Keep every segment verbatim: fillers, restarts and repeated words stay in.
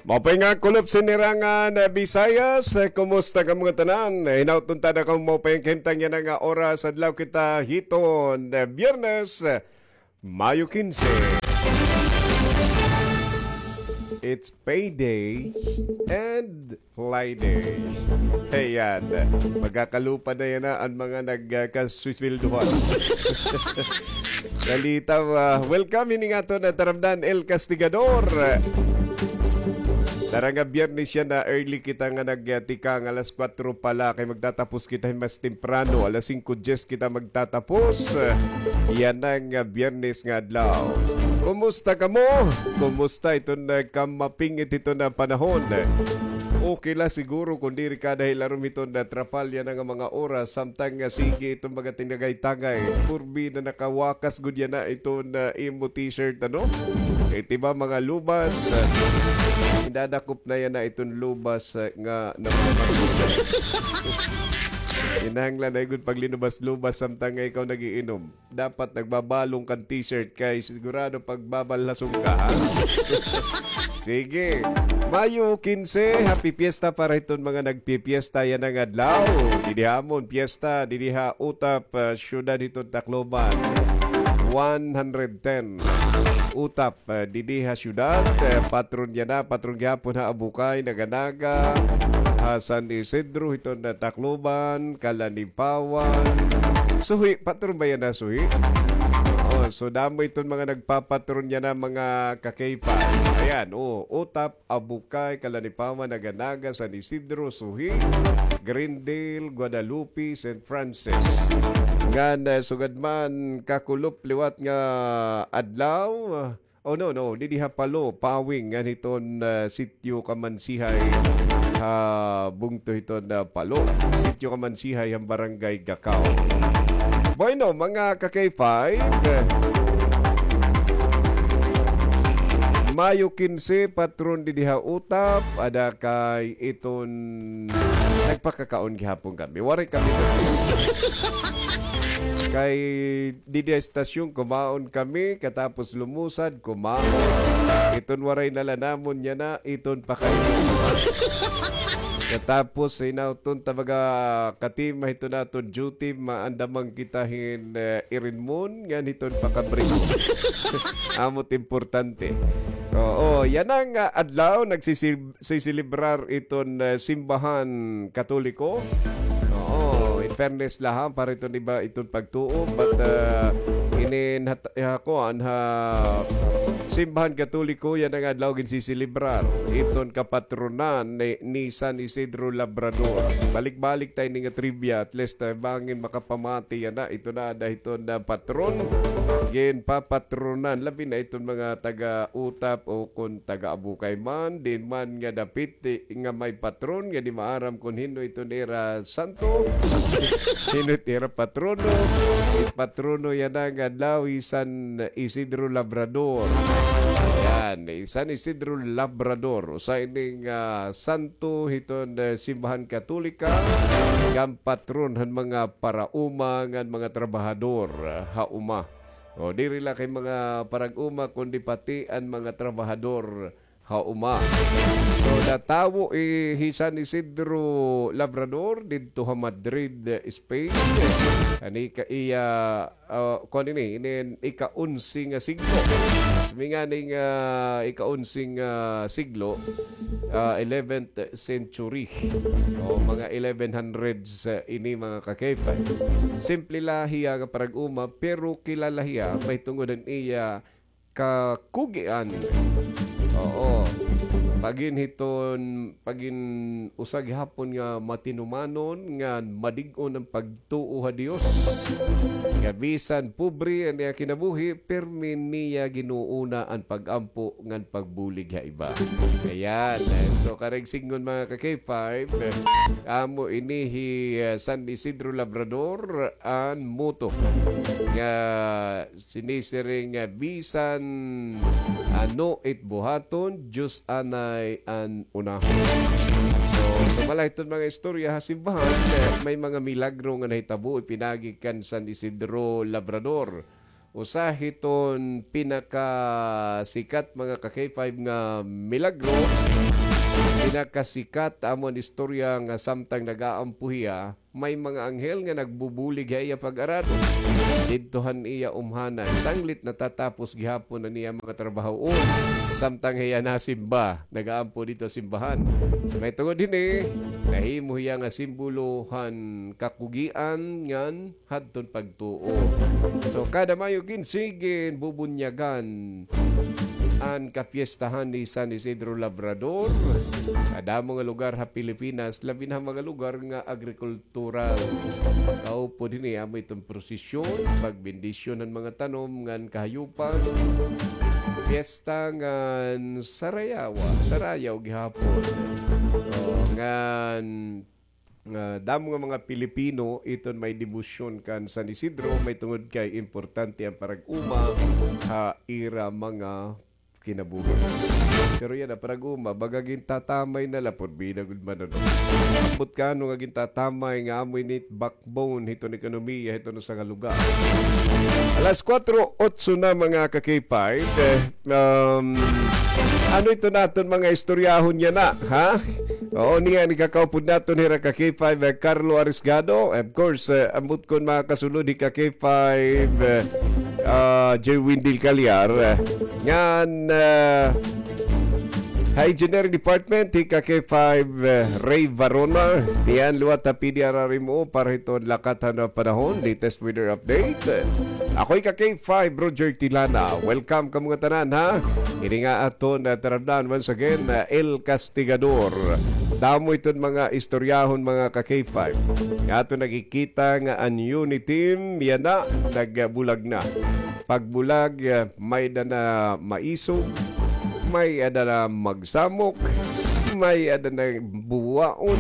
Maupay nga kulop sinirangan, eh, Visayas, eh, kumusta kamo ngatanan? Eh, hinaot unta na kamo maupay nga kahimtang yana nga oras, adlaw kita hiton, eh, Biyernes, eh, Mayo kinse. It's payday and Friday. Ayan. Magkakalupa na yana an mga nagkasweldohan. Balita, ah, welcome hini nga aton taramdan, El Castigador. Tara nga Biyernes yana, early kita nga nagtikang, alas kwatro pa la, kay magtatapos kita hin mas temprano, alas singko dyes kita magtatapos. Yana nga Biyernes nga adlaw. Kumusta kamo? Kumusta iton, ah, kamapingit hiton, ah, panahon? Okay la siguro kon diri ka dahil aron hiton, ah, trapalya na nga mga oras, samtang nga sige iton mga tinagay-tagay. Purbi na nakawakas gud yana iton, ah, imo t-shirt, ano? Iti ba mga lubas, ah, indadakop na yana iton lubas, ah, nga namamagot. Kinahanglan na gud paglinubas-lubas samtang nga ikaw nagiinom. Dapat nagbabalong kan t-shirt kay sigurado pagbabalhason ka, ha? Sige. Mayo kinse, happy fiesta para hiton mga nagpipiesta yana nga adlaw. Didi ha amon, fiesta, didi ha Utap, ah, siyudad hiton Tacloban. One hundred ten. Utap, ah, didi ha siyudad, ah, patron yana, patron gihapon ha Abukay, Naga-Naga, ha San Isidro, hiton, ah, Tacloban, Calanipawan. Suhi, patron ba yana, Suhi? Oh, so damo iton mga nagpapatron yana, mga ka-K five. Ayan, oh, Utap, Abukay, Calanipawan, Naga-Naga, San Isidro, Suhi, Greendale, Guadalupe, Saint Francis. Ngan, ah, sugad man, kakulop liwat nga adlaw. Oh, no, no, didi ha Palo, Pawing, ngan hiton, ah, Sitio Kamansihay, ha bungto hiton, ah, Palo. Sitio Kamansihay, han Barangay Gacao. Bueno, mga ka-K five, Mayo kinse, patron didi ha Utap, ada kay iton nagpakakaon gihapon kami. Waray kami kasi. Kay didi ha estasyon, kumaon kami, katapos lumusad, kumaon. Iton waray na la namon yana, iton pakainom. Katapos, hinaot unta mga katima hiton aton duty, maandaman kita hin, eh, irinmon, ngan hiton pakabrimon. Amo it importante. Oo, yana nga adlaw, nagsisib- siselebrar iton, eh, simbahan Katoliko. Oo, in fairness la ha, para iton iba iton pagtuo, but, eh, inin hat-, ha, kuan, ha simbahan Katoliko, yana nga adlaw ginsiselebrar iton kapatronan ni, ni San Isidro Labrador. Balik-balik ta ini nga trivia, at least, eh, bangin makapamati yana, iton na ada hiton na patron. Ginpapatronan, labi na iton mga taga-Utap o kon taga-Abukay man, diin man nga dapit, eh, nga may patron, nga di maaram kon hin-o iton ira santo, hin-o it ira patrono. It patrono yana nga adlaw hi San Isidro Labrador. Yan, hi San Isidro Labrador. Usa ini nga, ah, santo hiton, eh, simbahan Katolika, ngan patron han mga parauma ngan mga trabahador, ah, ha uma. O, diri la kay mga parag-uma, kundi pati an mga trabahador ha uma. So, natawo, eh, hi San Isidro Labrador didto ha Madrid, Spain. Ani ka iya, ah, kuan ini, inin ika-onse nga siglo. Mingani nga ika-onse nga siglo, ah, eleventh century. O, mga eleven hundreds, ah, ini, mga ka-K five. Simple la hiya nga parag-uma, pero kilala hiya mahitungod han iya kakugian. Oo. Pagin hiton, pagin usa gihapon nga matinumanon ngan madig-on an pagtuo ha Dios. Nga bisan pobre an iya kinabuhi, pirmi niya ginuuna an pag-ampo ngan pagbulig ha iba. Ayan. So, karuyag sidngon, mga ka-K five, amo ini hi, ah, San Isidro Labrador, an motto nga sinisiring nga bisan ano it buhaton, Diyos anay an unahon. So, sumala hiton mga istorya ha simbahan, eh, may mga milagro nga nahitabo ipinaagi kan San Isidro Labrador. Usa hiton pinakasikat, mga ka-K five, nga milagro. Pinakasikat amo an istorya nga samtang nag-aampo hiya, may mga anghel nga nagbubulig ha iya pag-aradom. Didto han iya umhanan, sanglit natatapos gihapon an iya mga trabahoon. Samtang hiya nasimba, nag-aampo didto ha simbahan. So, mahitungod hini, nahimo hiya nga simbolo han kakugian ngan hadton pagtuo. So, kada Mayo kinse, ginbubunyagan an kapiestahan ni San Isidro Labrador. Kadamo nga lugar ha Pilipinas, labi na ha mga lugar nga agrikultural. Kaupod hini, amo iton prosesyon, pagbendisyon han mga tanom ngan kahayupan. Piyesta ngan sarayawa, sarayaw gihapon. O, ngan nga damo nga mga Pilipino iton may debosyon kan San Isidro, mahitungod kay importante an parag-uma ha ira mga kinabuhi. Pero yana, parag-uma, baga gintatamay na la, pud bida gud man, ano. Ambot ka, ano nga gintatamay nga amo ini backbone hiton ekonomiya hiton usa nga lugar. Alas kuwatro otso na, mga ka-K five. Eh, um, ano ito naton mga istoryahon yana, ha? Oo, niya ni kakaupod naton hira ka-K five, eh, Carlo Arisgado. Of course, eh, ambot kon makakasulod hi ka-K five, eh, ah, J Windel Calyar, eh, ngan, eh, ha Engineering Department, hi ka-K five, eh, Ray Varona. Niyan liwat ha P D R R M O para hiton lakat han panahon, latest weather update. Ako hi ka-K five, Roger Tilana. Welcome kamo ngatanan, ha? Ini nga aton, ah, tarabdan, once again, ah, El Castigador. Damo iton mga istoryahon, mga ka-K five. Nga aton nakikita nga an Uniteam, yana, nagbulag na. Pagbulag, ah, may-ada na maisog, may-ada na magsamok, may-ada na buwaon.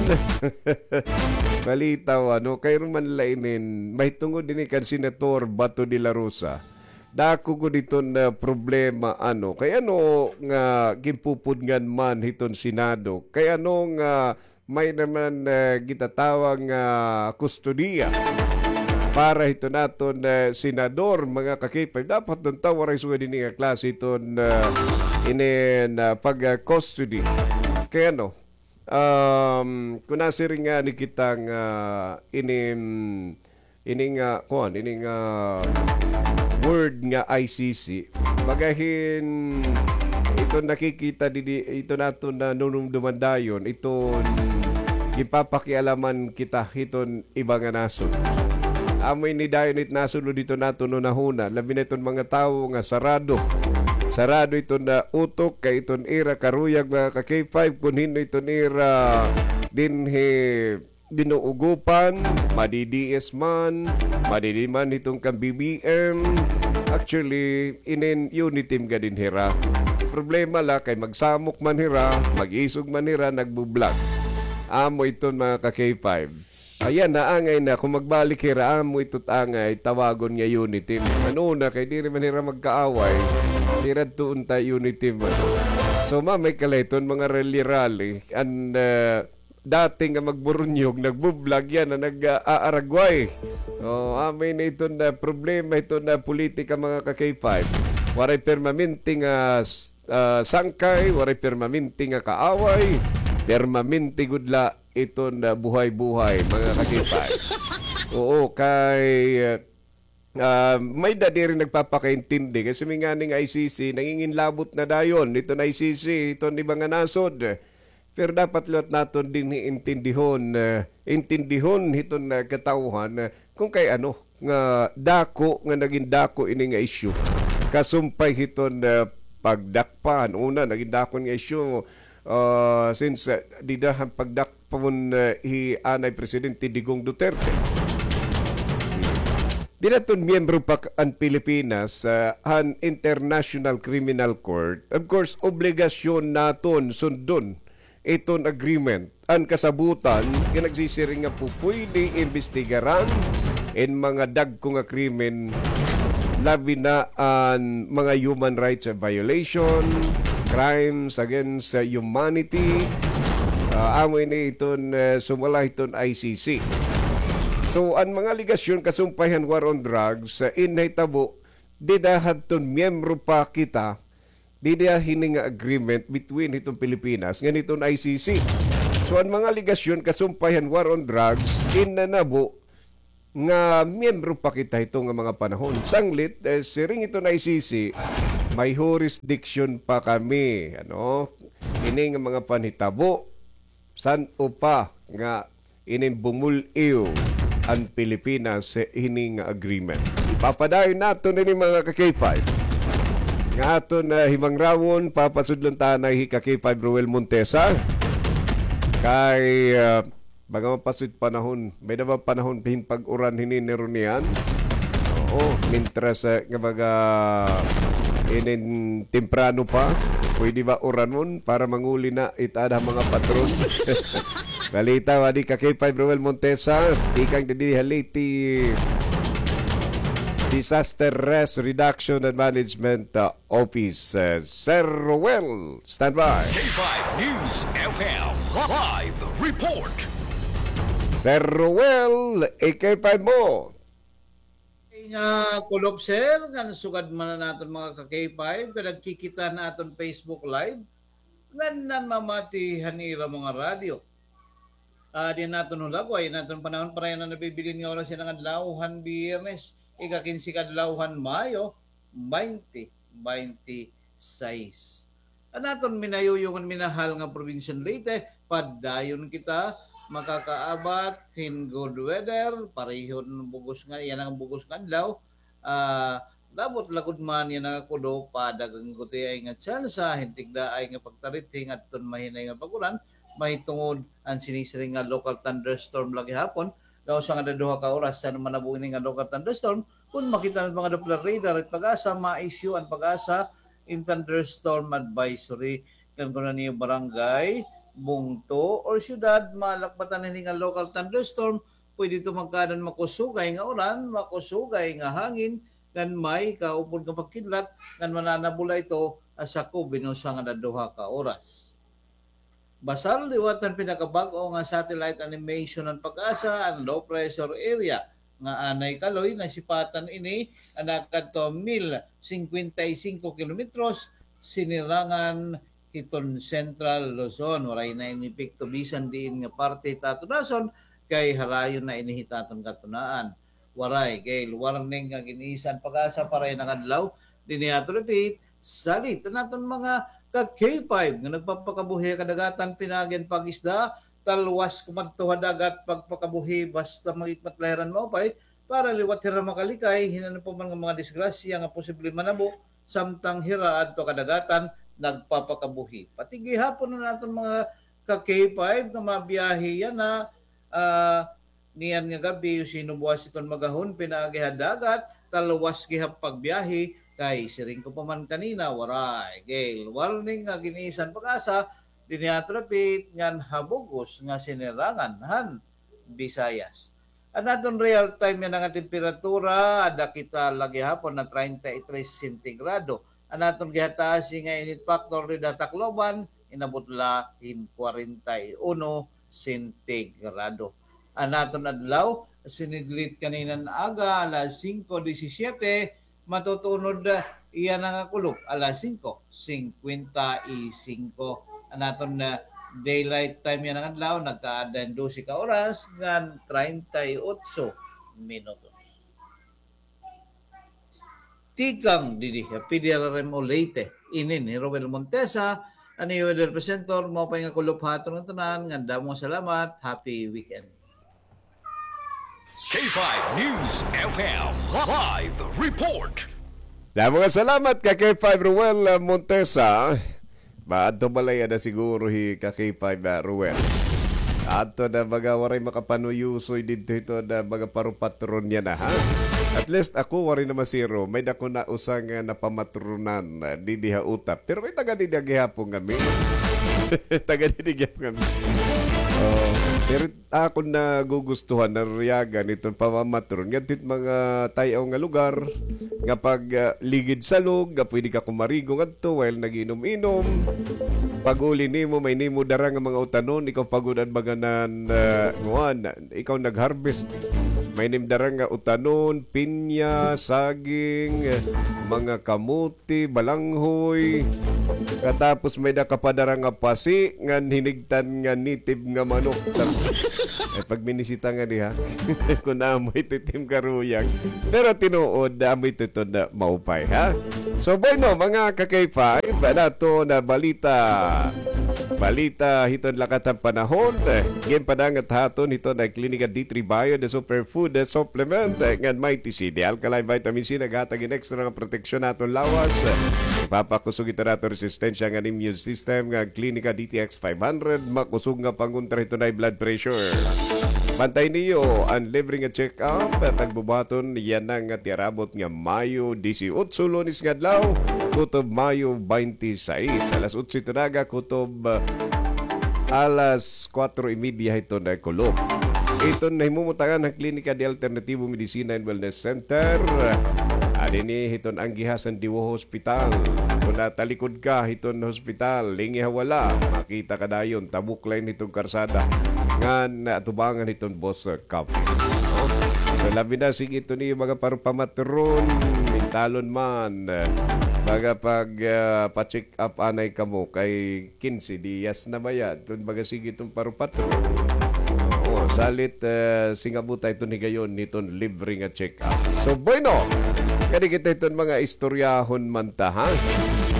Balitaw, ano, kay Roman Lainin, mahitungod ini kan Senator Bato de la Rosa. Dako gud iton, ah, problema, ano. Kay ano nga ginpupudngan man hiton Senado? Kay ano nga may-ada man, ah, gintatawag nga kustodiya para hiton aton, ah, senador, mga ka-K five? Dapat unta waray sugad ini nga klase hiton, ah, inin, ah, pag, ah, custody. Kay ano, um, kon nasiring ngani kita nga inin ini nga, kuan, ini nga word nga I C C. Baga hin, iton nakikita didi, iton aton nanunumduman dayon, iton ginpapakialaman kita hiton iba nga nasod. Amo ini dayon it nasulod hiton aton hunahuna, labi na iton mga tawo nga sarado. Sarado iton, ah, utok kay iton ira karuyag, mga ka-K five, kon hin-o iton ira dinhi binuugopan, madi-D S man, madi-D man hiton kan B B M. Actually, inin Uniteam gad in hira. Problema la kay magsamok man hira, mag-isog man hira, nagbu-vlog. Amo iton, mga ka-K five. Ayan, naangay na. Kon magbalik hira, amo ito it angay tawagon nga Uniteam. Ano na, kay diri man hira magkaaway. Hira tuon ta Uniteam man. So, mamay kala iton mga rally-rally. And, uh, dati nga magburunyog, nagbu-vlog yana, nag-aaragway. O, amo ini iton, ah, problema, iton, ah, politika, mga ka-K five. Waray permanente nga, ah, sangkay, waray permanente nga kaaway, permanente gud la iton, ah, buhay-buhay, mga ka-K five. Oo, kay, ah, Ah, may-ada diri nagpapakaintindi. Kay sumingani nga I C C, nanginginlabot na dayon. Iton I C C, iton iba nga nasod. Pero dapat liwat naton dinhi intindihon, eh, intindihon hiton, eh, katawhan, eh, kon kay ano, nga dako, nga nagin dako ini nga isyu. Kasumpay hiton, eh, pagdakpan. Una, nagin dako nga isyu, ah, since, ah, dida han pagdakpon, ah, hi anay Presidente Digong Duterte. Dida iton miyembro pa k-, an Pilipinas, ah, han International Criminal Court. Of course, obligasyon naton sundon iton agreement. An kasabutan nga nagsisiring nga pupwede imbestigaran in mga dagko nga krimen, labi na an mga human rights violation, crimes against humanity. Ah, amo ini iton, eh, sumala hiton I C C. So, an mga alegasyon kasumpay han war on drugs, ah, in nahitabo dida hadton miyembro pa kita, dida hini nga agreement between hiton Pilipinas ngan hiton I C C. So, an mga alegasyon kasumpay han war on drugs, in nanabo nga miyembro pa kita hito nga mga panahon. Sanglit, eh, siring hiton I C C, may jurisdiction pa kami, ano? Ini nga mga panhitabo, san-o pa nga inin bumul-iw an Pilipinas sa hini nga agreement. Ipapadayon naton ini, mga ka-K five. Nga aton, ah, himangrawon, papasudlon ta anay hi ka-K five Roel Montesa. Kay, ah, baga mapasud panahon, may-ada ba panahon hin pag-uran hini ni Ronian? Oo, mintras, ah, nga baga inin temprano pa, pwede ba uranon para manguli na it ada mga patron? Balita, wadi ka-K five Roel Montesa, tikang didi ha Leyte Disaster Risk Reduction and Management, uh, Office. Uh, Sir Roel, standby. K five News F M live report. Sir Roel, i-K five mo. Nga kulop, sir, ngan sugad man an aton mga ka-K five, nga nagkikita han aton Facebook Live, ngan nanmamati han ira mga radyo. Ah, di naton hulagway, naton panahon para yana nabibilin nga oras yana nga adlaw han Biyernes, ika-kinse ka adlaw han Mayo, baynte baynte sais. An aton minayuyo ngan minahal nga probinsya han Leyte, padayon kita makakaabat hin good weather, parehon bug-os nga, yana nga bug-os nga adlaw, ah, labot lagod man yana nga kudo, padagan gutiay nga tsansa hin tigdaay nga pagtarithi ngadton mahinay nga pag-uran, mahitungod an sinisiring nga local thunderstorm la gihapon, nga usa nga duha ka oras san manabo ini nga local thunderstorm, kon makita han mga Doppler radar it PAGASA, ma-issue an PAGASA hin thunderstorm advisory. Kon ano niyo barangay, bungto, or syudad malakbatan hini nga local thunderstorm, pwede ito magkaada han makusugay nga uran, makusugay nga hangin, ngan may kaupod nga pagkidlat, ngan mananabo la ito ha sakob hin usa ngan duha ka oras. Basar liwat han pinakabag-o nga satellite animation han PAGASA, an low pressure area nga anay kaloy, nasipatan ini nga nakadto mil singkwenta y singko kilometros, sinirangan hiton Central Luzon. Waray na ini epekto bisan diin nga parte hit aton nasod, kay harayo na ini hit aton katunaan. Waray gale warning nga gin-isa han PAGASA para yana nga adlaw. Dinhi aton repeat, salit an aton mga ka-K five nga nagpapakabuhi ha kadagatan pinaagi han pag-isda, talwas kumadto ha dagat pagpakabuhi basta mag-ikmat la hira hin maupay para liwat hira makalikay hin ano pa man nga mga disgrasya nga posible manabo samtang hira adto ha kadagatan nagpapakabuhi. Pati gihapon an aton mga ka-K five nga mabiyahe yana, ah, niyan nga gab-i, sino buwas iton magahon pinaagi ha dagat, talwas gihap pagbiyahe, kay siring ko pa man kanina, waray gale warning nga gin-isa han PAGASA, dinhi aton repeat, ngan ha bug-os nga sinirangan han Visayas. An aton real time yana nga temperatura, ada kita la gihapon ha treinta y tres sentigrado. An aton gihataasi nga init factor dida ha Tacloban, inabot la hin kwarenta y uno sentigrado. An aton adlaw, sinidlit kanina nga aga, alas singko disisiete, matutunod, ah, yana nga kulop, alas singko singkwenta y singko. An aton, ah, daylight time yana nga adlaw, nagkaada hin dose ka oras ngan treinta y ocho minutos. Tikang didi ha P D R R M O Leyte, ini ni Romel Montesa, an iyo weather presenter, maupay nga kulop ha aton ngatanan, ngan damo nga salamat, happy weekend. K five News F M live report. Damo nga salamat ka K five Roel, uh, Montesa. Maadto balay ada siguro hi ka K five, ah, Ruel. Adto na mga waray makapanuyusoy didto hito na mga parupatron niya na, ha? At least ako waray na masiro. May dako na usa nga napamatronan, ah, didi ha utap. Pero may taga didi gihapon kami. Taga didi gihapon kami. Oh, pero akon nagugustuhan, nariyagan iton pamamatron ngadto hit mga tay-aw nga lugar nga pag, ah, ligid salog nga pwede ka kumarigo ngadto while nag-inom-inom. Pag-uli nimo, may nimo dara nga mga utanon, ikaw pa gud an baga nan, ah, nguan, ikaw nag-harvest. May nim dara nga utanon, pinya, saging, mga kamote, balanghoy. Katapos may da ka pa dara nga pasi, ngan hinigtan nga native nga manok. Ay, pagminisita nga diha. Kun amo ito tim karuyag. Pero tinuod, amo ito ito na maupay, ha? So, bueno, mga ka-K five, nato na balita. Balita hiton lakat han panahon. Ginpadangat haton hiton na Klinika D three Bio, the superfood, the supplement, ngan Mighty C, the alkaline vitamin C, naghatag hin extra nga proteksyon aton lawas. Ipapakusog ito naton resistensya ngan immune system, nga Klinika D T X five hundred, makusog nga pangontra hiton high blood pressure. Bantay niyo an libre nga check-up, pagbubuhaton yana nga tiarabot nga Mayo disiotso, Lunes nga adlaw, kutob Mayo baynte sais, alas otso ito naga, kutob, ah, alas kuwatro y media hiton kulop. Iton nahimumutangan han Klinika de Alternativo Medicina and Wellness Center. Adi ini hiton anggiha san Diwo Hospital. Kun natalikod ka hiton hospital, lingi ha wala, makita ka dayon, tabok la ini hiton karsada. Ngan atubangan hiton Boss, ah, Coffee. No? So, labi na, sige, ito ni mga parupamatron, mintalon man, eh, mga pag, ah, pa-check up anay kamo kay kinse diyas na baya. Iton baga sige iton parupatron. Oo, salit, eh, singabuta iton higayon niton libre nga check-up. So, bueno, kadi kita iton mga istoryahon man ta, ha?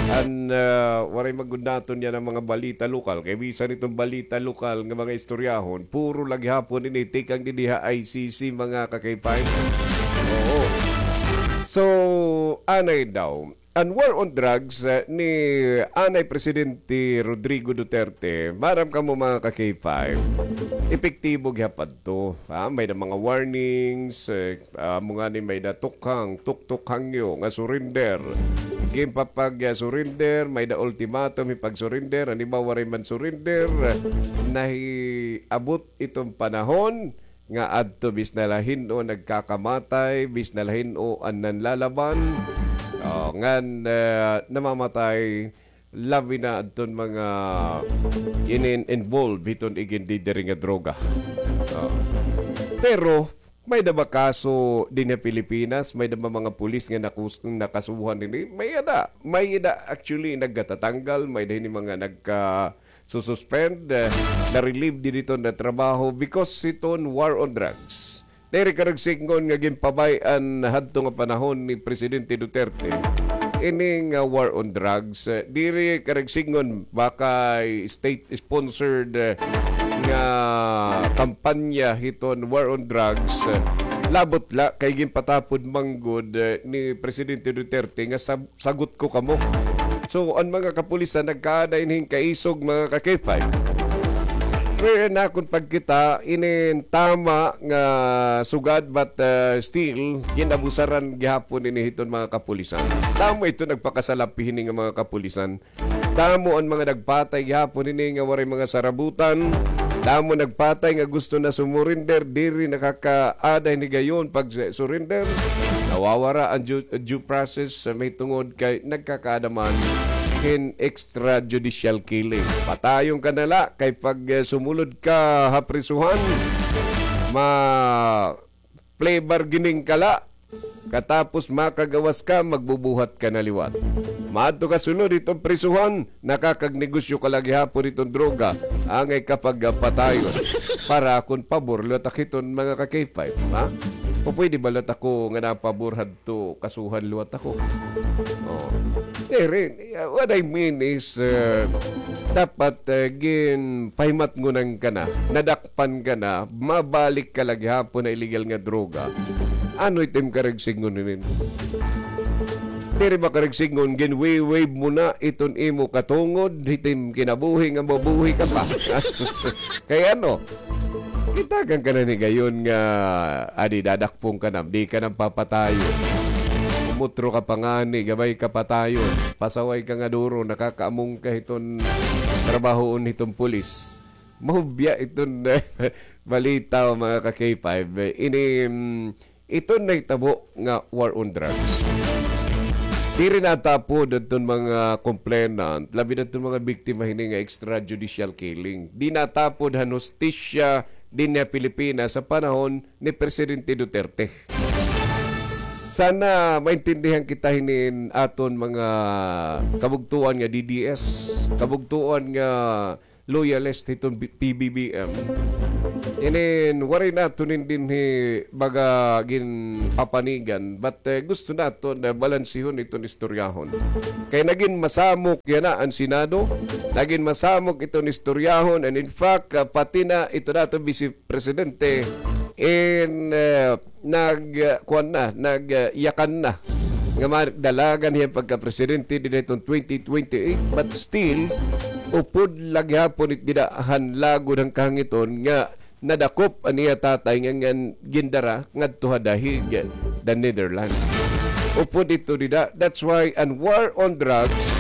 An, eh, waray magud naton yana mga balita lokal. Kay bisan iton balita lokal nga mga istoryahon, puro la gihapon ini tikang dinhi ha I C C, mga ka-K five. Oo. So, anay daw, an war on drugs, eh, ni anay Presidente Rodrigo Duterte, maaram kamo mga ka-K five, epektibo gihapon adto. Ah, may da mga warnings, eh, ah, amo ngani may da tukhang, tuktok hangyo nga surrender. Ginpapag, ah, surrender, may da ultimatum, ipag-surrender, an iba waray man surrender. Nahiabot iton panahon nga adto bisan la hin-o nagkakamatay, bisan la hin-o an nanlalaban, oh, ngan, eh, namamatay, labi na adton mga inin-involved hiton igindidiri nga droga. Oh. Pero, may da ba kaso dinhi ha Pilipinas? May da ba mga pulis nga nakus-, nakasuhan hini? May da. May da actually nagkatatanggal, may da hini mga nagka- sususpend, eh, na-relieve diri hiton trabaho because hiton war on drugs. Diri karuyag sidngon nga ginpabay-an hadto nga panahon ni Presidente Duterte ini nga war on drugs. Eh, diri karuyag sidngon baka state-sponsored, eh, nga kampanya hiton war on drugs. Eh, labot la kay ginpatapod man gud, eh, ni Presidente Duterte nga sab- sagot ko kamo. So, an mga kapulisan nagkaada hin kaisog, mga ka-K five. Pero an akon pagkita, inin tama nga sugad, but, uh, still, gin-abusaran gihapon ini hiton mga kapulisan. Damo ito nagpakasalapi hini nga mga kapulisan. Damo an mga nagpatay gihapon hini nga waray mga sarabutan. Damo nagpatay nga gusto na sumurinder, diri nakakaada hin higayon pag-surrender. Nawawara an due, due process, ah, mahitungod kay nagkakaada man hin extrajudicial killing. Patayon ka na la, kay pag, eh, sumulod ka ha prisuhan, ma-plea bargaining ka la. Katapos makagawas ka, magbubuhat ka na liwat. Maadto ka sulod hiton prisuhan, nakakagnegosyo ka la gihapon hiton droga, angay ka pagpatayon. Para akon pabor liwat ak hiton mga ka-K five, ha? O pwede ba liwat ako nga napabor hadto kasuhan liwat ako? Oh. Diri, what I mean is, uh, dapat, uh, ginpahimatngonan ka na, nadakpan ka na, mabalik ka la gihapon ha illegal nga droga. Ano it im karuyag sidngon hinin? Diri ba karuyag sidngon, gin-wave-wave mo na iton imo katungod, hit im kinabuhi nga mabuhi ka pa. Kay ano? Gitagan ka na hin higayon nga, adi, dadakpon ka na, di ka na papatayon. Umutro ka pa ngani, gamay ka patayon. Pasaway ka nga duro, nakakaamong ka hiton trabahoon hiton pulis. Mahubya iton balita, mga ka-K five. Ini, mm, iton nahitabo nga war on drugs. Diri natapod adton mga complainant, labi na adton mga biktima hini nga extrajudicial killing. Di natapod han hustisya, dinhi ha Pilipinas sa panahon ni Presidente Duterte. Sana maintindihan kita hinin aton mga kabugtoan nga D D S, kabugtoan nga loyalist hiton B-, P B B M. Inin, waray naton inin dinhi baga ginpapanigan, but, eh, gusto naton na balansihon iton istoryahon. Kay nagin masamok yana an Senado, nagin masamok iton istoryahon, and in fact, ah, pati na iton aton Vice Presidente, in, eh, nag, ah, kuan na, nag, ah, yakan na nga madalagan hiya pagka-presidente dinhi hiton twenty twenty-eight, but still, upod la gihapon it dida han lagod han kahangiton nga nadakop an iya tatay nga ngan gindara ngadto ha The Hague, the Netherlands. Upod ito dida, that's why an war on drugs,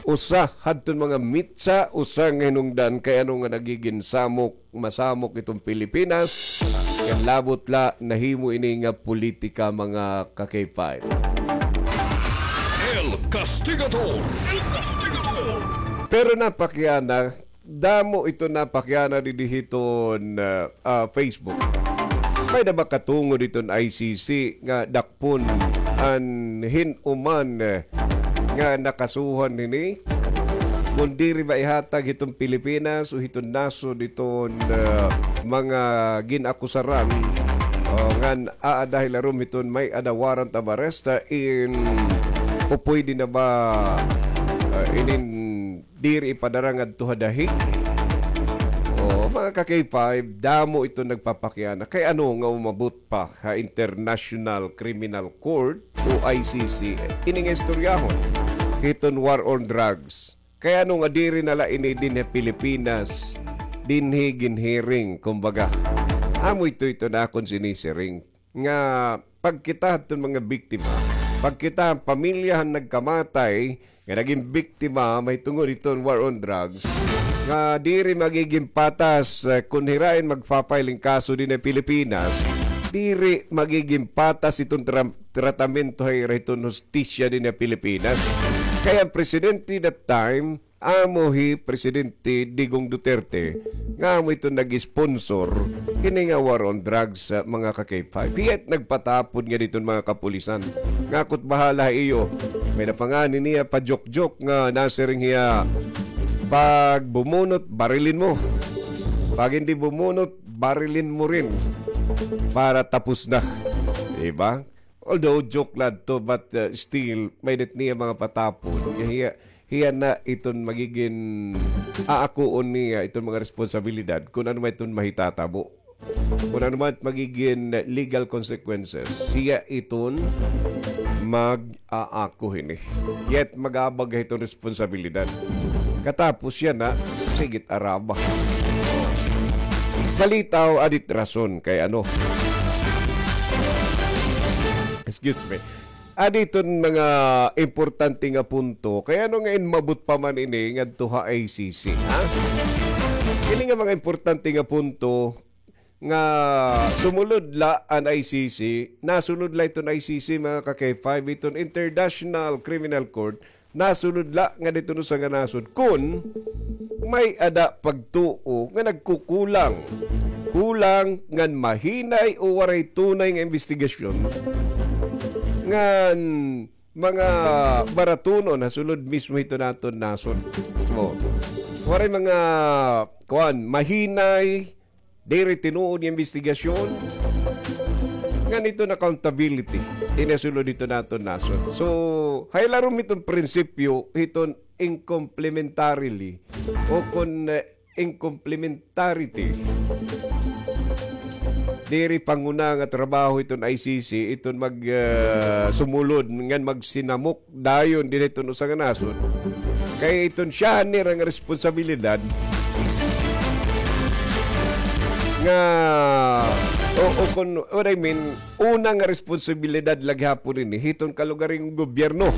usa hadton mga mitsa, usa nga hinungdan kay ano nga nagigin samok masamok iton Pilipinas, kay labot la nahimo ini nga politika, mga ka-K five. El Castigador. El Castigador. Pero napakiana, damo ito napakiana didi hiton, ah, ah, Facebook. May na ba katungod iton I C C nga dakpon an hin-o man, eh, nga nakasuhan hini? Kon diri ba ihatag hiton Pilipinas o hiton nasod iton, ah, mga gin-akusaran, o ngan aada hilarom hiton may-ada warrant of arrest, ah, in, o pwede na ba, ah, inin diri ipadara ngadto ha The Hague? O, mga ka-K five, damo ito nagpapakiana. Kay ano nga umabot pa ha International Criminal Court o I C C ini nga istoryahon hiton war on drugs? Kay ano nga diri na la ini dinhi Pilipinas, dinhi ginhearing, kumbaga? Amo ito, ito na akon sinisiring nga pagkita hadton mga biktima, pagkita han pamilya han nagkamatay nga nagin biktima mahitungod hiton war on drugs, nga diri magigin patas, eh, kon hira in magfa-file hin kaso dinhi Pilipinas, diri magigin patas iton tra-, tratamento ha ira hiton hustisya dinhi Pilipinas. Kay an presidente that time, amo hi Presidente Digong Duterte, nga amo ito nag-sponsor kini nga war on drugs, ah, mga ka-K five. Hiya it nagpatapod ngadi hiton mga kapulisan. Nga ako't bahala ha iyo. May na pa ngani niya pa-joke-joke nga nasiring hiya, "Pag bumunot, barilin mo. Pag hindi bumunot, barilin mo rin. Para tapos na." Diba? Although joke la ito, but, uh, still, may-ada it niya mga patapod. Hiya, hiya na iton magigin aakuon niya iton mga responsibilidad kon ano man iton mahitatabo. Kon ano man magigin legal consequences, hiya iton mag-aako hini. Hiya it mag-aabag hiton responsibilidad. Katapos hiya na, sige it araba. Palitaw, adi it rason kay ano. Excuse me. Adi iton mga importante nga punto. Kay ano nga inmabot pa man ini ngadto ha I C C, ha? Ini nga mga importante nga punto nga sumulod la an I C C, nasulod la iton I C C, mga ka-K five, iton International Criminal Court, nasulod la ngadi hiton usa nga nasod kon may-ada pagtuo nga nagkukulang. Kulang ngan mahinay o waray tunay nga imbestigasyon ngan mga baratunon ha sulod mismo hiton aton nasod. O, waray mga, kuan, mahinay, diri tinuod nga imbestigasyon, ngan iton accountability dinhi ha sulod hiton aton nasod. So, ha ilarom hiton prinsipyo hiton incomplementarily o kon, eh, incomplementarity, diri panguna nga trabaho hiton I C C iton mag, ah, sumulod ngan magsinamok dayon dinhi hiton usa nga nasod. Kay iton siyahan nira nga responsibilidad nga, o, o kon, what I mean, una nga responsibilidad la gihapon ini hiton kalugaringon gobyerno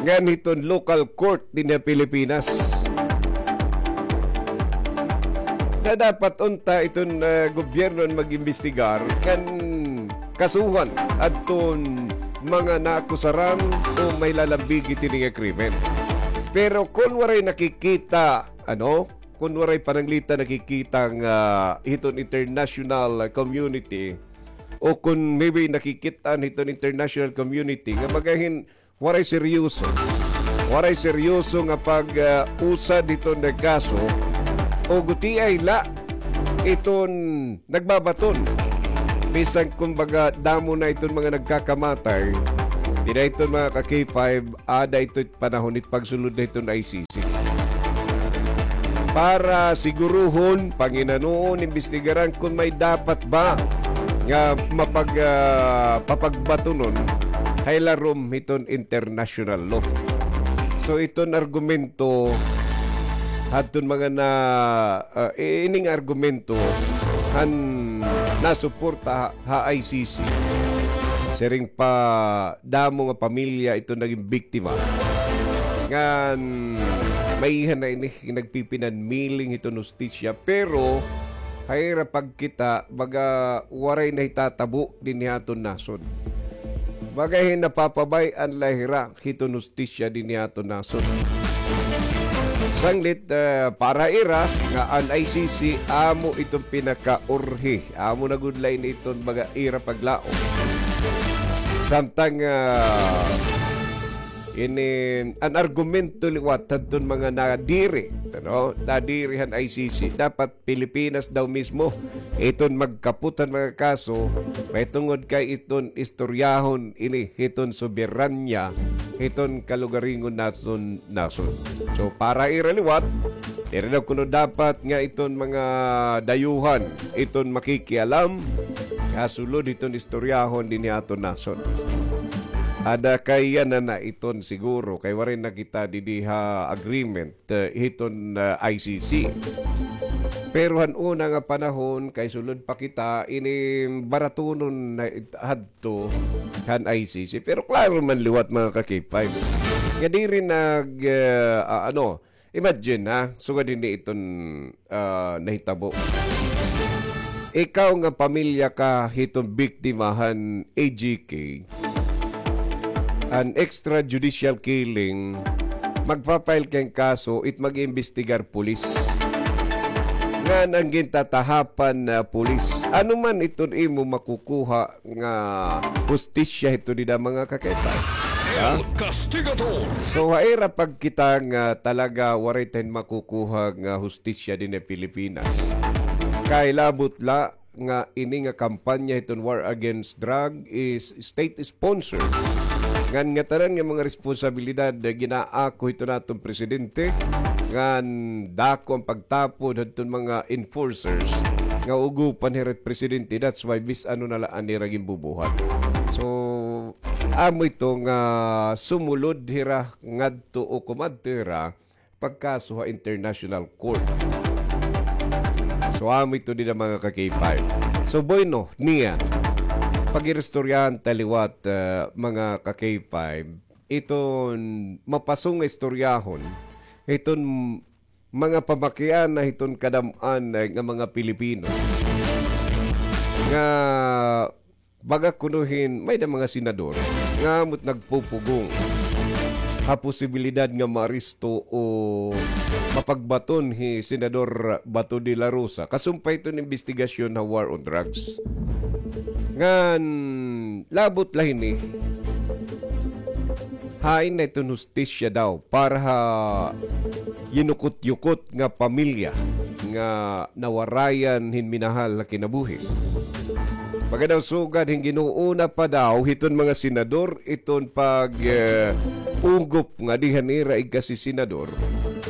ngan hiton local court dinhi ha Pilipinas. Na dapat unta iton, ah, gobyerno an mag-imbestigar ngan kasuhan adton mga naakusaran o may lalambigit hini nga krimen. Pero kon waray nakikita, ano, kun waray pananglitan nakikita nga hiton international community, o kun maybe nakikit-an hiton international community, nga baga hin waray seryoso. Waray seryoso nga pag, ah, usad hiton nga kaso, o gutiay la iton nagbabaton. Bisan kumbaga damo na iton mga nagkakamatay, dida iton mga ka-K five, ada ito panahon it pagsulod na hiton I C C. Para siguruhon, panginanuon, imbestigaran kun may dapat ba nga mapag-, ah, papagbatunon ha ilarom hiton international law. So, iton argumento hadton mga na, ah, i-, ining argumento han nasuporta ha, ha I C C. Siring pa, damo nga pamilya iton nagin biktima. Ngan, may iha na ini nagpipinanmiling hiton hustisya, pero ha ira pagkita, baga waray nahitatabo dinhi ha aton nasod. Baga hin napapabay-an la hira hiton hustisya dinhi ha aton nasod. Sanglit, eh, para ira nga an I C C amo iton pinakaurhi. Amo na gud la ini iton baga ira paglaom. Samtang, ah, ini an argumento liwat hadton mga nadiri, ano? Nadiri han I C C. Dapat Pilipinas daw mismo iton magkapot han mga kaso, mahitungod kay iton istoryahon ini hiton soberanya hiton kalugaringon naton nasod. So, para ira liwat, diri daw kuno dapat nga iton mga dayuhan iton makikialam ha sulod hiton istoryahon dinhi aton nasod. Ada kay yana na iton siguro, kay waray na kita didi ha agreement, eh, hiton, eh, I C C. Pero han una nga panahon, kay sulod pa kita, ini baratunon na it-, hadto han I C C. Pero klaro man liwat, mga ka-K five, nga diri nag, eh, ah, ano, imagine, ha, sugad hini iton, ah, nahitabo. Ikaw nga pamilya ka hiton biktima han A G K, an extrajudicial killing, magpa-file kay kaso, it mag-iimbestigar pulis. Ngan an gintatahapan na pulis. Ano man iton imo makukuha nga hustisya hito dida, mga ka-K five? Ha? El Castigador. So, ha ira pagkita nga talaga waray ta hin makukuha nga hustisya dinhi Pilipinas. Kay labot la nga ini nga kampanya hiton war against drug is state sponsored. Ngan ngatanan nga mga responsabilidad nga ginaako hiton aton presidente, ngan dako an pagtapod hadton mga enforcers nga ugopan hira it presidente. That's why bis ano na la an ira ginbubuhat. So, amo ito nga sumulod hira ngadto o kumadto hira pagkaso ha International Court. So, amo ito dida, mga ka-K five. So, bueno, niya, pag-iristoryahan ta liwat, ah, mga ka-K five, iton mapasong nga istoryahon, iton mga pamakiana hiton kadam-an, eh, nga mga Pilipino nga baga kuno hin may-ada mga senador nga amo it nagpupugong ha posibilidad nga maaresto o mapagbaton hi Senador Bato de la Rosa kasumpay hiton imbestigasyon ha war on drugs. Ngan labot la hini, hain na iton hustisya daw para ha yinukot-yukot nga pamilya nga nawarayan hin minahal nga kinabuhi. Baga daw sugad hin ginuuna pa daw hiton mga senador iton pag, eh, ugop ngadi han ira igkasi-senador.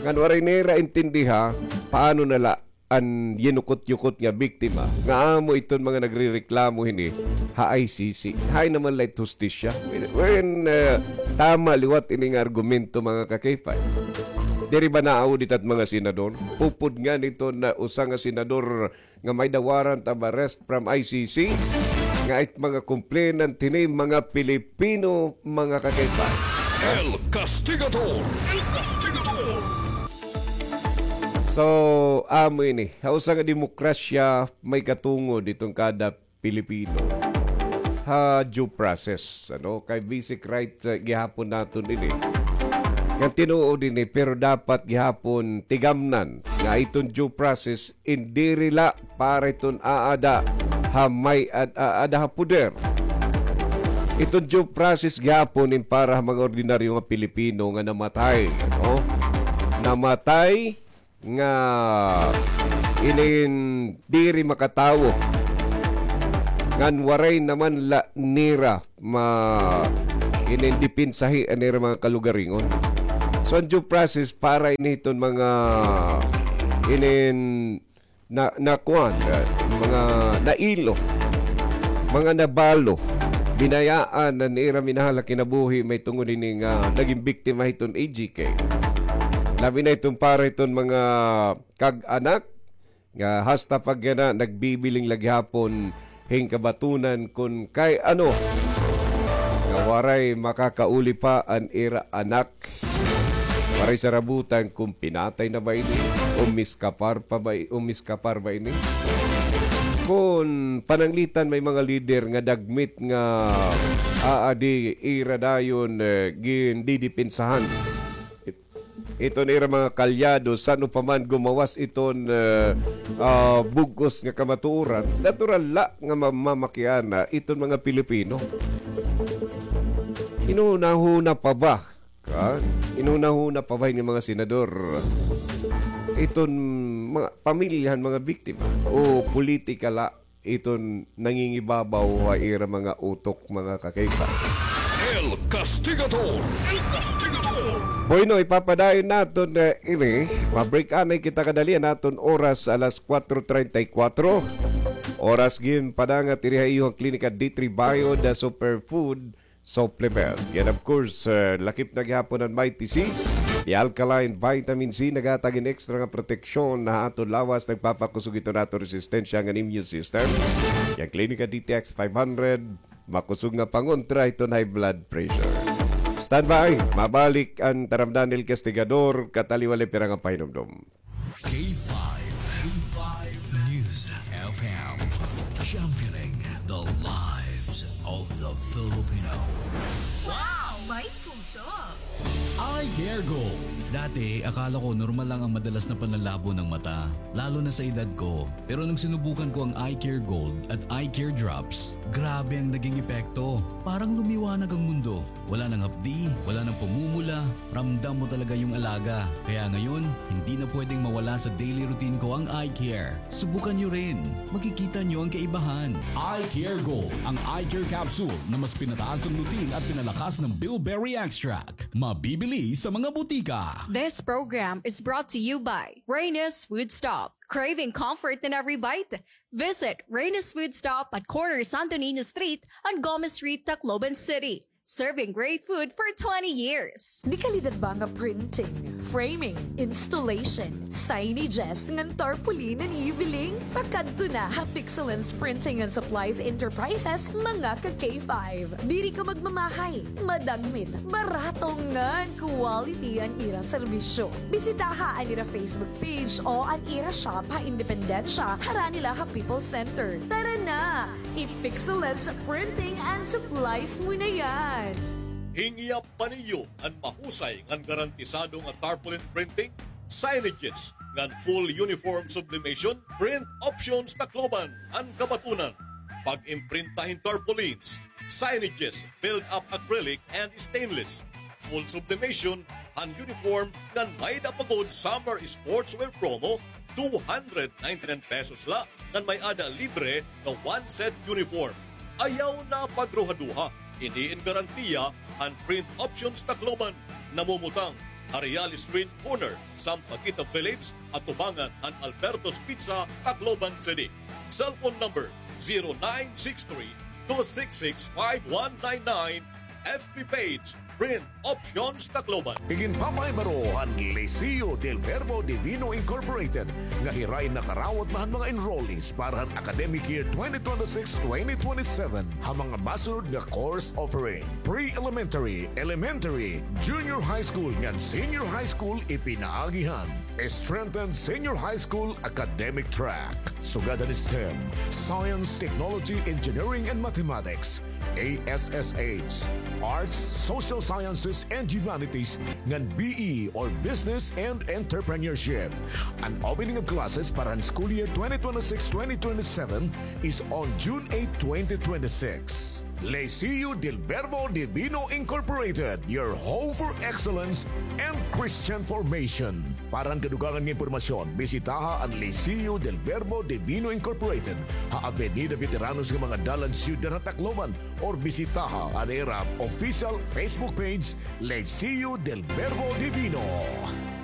Ngan waray nira intindiha paano na la an yinukot-yukot nga biktima, nga amo iton mga nagrereklamo hini ha I C C. Hain naman la it hustisya? When, when, eh, tama liwat ini nga argumento, mga ka-K five. Diri ba naaudit it mga senador? Pupod ngani iton usa nga senador nga may-ada warrant of arrest from I C C, nga it mga complainant hini mga Pilipino, mga ka-K five. El Castigador! El Castigador! So, amo ini. Ha usa nga demokrasya, may katungod iton kada Pilipino ha due process, ano? Kay basic right, eh, gihapon naton ini. Ngan tinuod ini, pero dapat gihapon tigamnan nga iton due process, in diri la para iton aada ha may-ad, aada ha poder. Iton due process gihapon in para ha mga ordinaryo nga Pilipino nga namatay, no? Namatay nga inin diri makatawo. Ngan waray naman la nira ma-, inin depensahi an ira mga kalugaringon. So, an due process para ini hiton mga inin na, nakuan, ah, mga nailo, mga nabalo, binayaan an ira minahal ha kinabuhi mahitungod ini nga nagin biktima hiton A G K. Labi na iton para hiton mga kag-anak nga hasta pa yana nagbibiling la gihapon hin kabatunan kon kay ano nga waray makakauli pa an ira anak. Waray sarabutan kon pinatay na ba ini o miskapar pa ba, o miskapar ba ini. Kon pananglitan may mga lider nga dagmit nga aadi ira dayon, eh, gindidepensahan iton ira mga kalyado, san-o pa man gumawas iton, eh, ah, bug-os nga kamatuoran, natural la nga mamamakiana iton mga Pilipino. Inhunahuna pa ba, ha? Inhunahuna pa ba ini mga senador iton mga pamilya han mga biktima o politika la iton nangingibabaw ha ira mga utok, mga kakaiba. El Castigador! El Castigador! Bueno, ipapadayon naton, eh, ini. Ma-break anay kita kadali an aton oras, alas kuwatro treinta y kuwatro. Oras ginpadangat diri ha iyo han Klinika D three Bio, the superfood supplement. Yan, of course, eh, lakip na gihapon an Mighty C. The alkaline vitamin C, naghatag hin extra nga proteksyon ha aton lawas, nagpapakusog iton aton resistensya ngan immune system. Yan, Klinika D T X five hundred, makusog nga pangontra hiton high blood pressure. Standby, mabalik an taramdan ni El Castigador, kataliwali pira nga pahinumdom. K five, K five News F M, championing the lives of the Filipino. Wow! May puso! Eye Care Gold. Dati, akala ko normal lang ang madalas na panlalabo ng mata, lalo na sa edad ko. Pero nung sinubukan ko ang Eye Care Gold at Eye Care Drops, grabe ang naging epekto. Parang lumiwanag ang mundo. Wala nang hapdi, wala nang pamumula, ramdam mo talaga yung alaga. Kaya ngayon, hindi na pwedeng mawala sa daily routine ko ang eye care. Subukan nyo rin. Makikita nyo ang kaibahan. Eye Care Gold, ang eye care capsule na mas pinataas ang lutein at pinalakas ng bilberry extract. Mabibili sa mga butika. This program is brought to you by Reyna's Food Stop. Craving comfort in every bite? Visit Reyna's Food Stop at corner Santo Niño Street and Gomez Street, Tacloban City. Serving great food for twenty years. Dekalidad ba nga printing, framing, installation, signages, ngan tarpaulin an ibiling? Pakadto na ha Pixelance Printing and Supplies Enterprises, mga ka K five. Diri ka magmamahay, madagmit, barato ngan quality an ira serbisyo. Bisitaha an ira Facebook page o an ira shop ha Independencia, harani la ha People's Center. Tara na! I-Pixelance Printing and Supplies mo na yan! Hingyap pa niyo an mahusay ngan garantisado nga tarpaulin printing, signages, ngan full uniform sublimation? Print Options Tacloban an kabatunan. Pag-imprinta hin tarpaulins, signages, build-up acrylic and stainless, full sublimation, han uniform, ngan may-ada pa gud summer sportswear promo, two hundred ninety-nine pesos la, ngan may-ada libre nga one set uniform. Ayaw na pagruhaduha, ini in garantiya han Print Options Tacloban, namumutang ha Real Street, corner Sampaguita Village, atubangan han Alberto's Pizza, Tacloban City. Cellphone number, zero nine six three, two six six, five one nine nine. F B page, Print Options Tacloban. Iginpapahibaro han Liceo del Verbo Divino Incorporated nga hirain nakarawat na han mga enrollees para han academic year twenty twenty-six, twenty twenty-seven ha mga masunod nga course offering: pre-elementary, elementary, junior high school, ngan senior high school. Ipinaagi han strengthened senior high school academic track, sugad han STEM, science, technology, engineering, and mathematics, A S S H, Arts, Social Sciences, and Humanities, ngan B E or Business and Entrepreneurship. An opening of classes para han school year twenty twenty-six twenty twenty-seven is on June eight, twenty twenty-six. Liceo del Verbo Divino Incorporated, your home for excellence and Christian formation. Para han kadugangan nga impormasyon, bisitaha an Liceo del Verbo Divino Incorporated ha Avenida Veteranos nga mga dalan, Ciudad ha Tacloban, or bisitaha an ira official Facebook page, Liceo del Verbo Divino.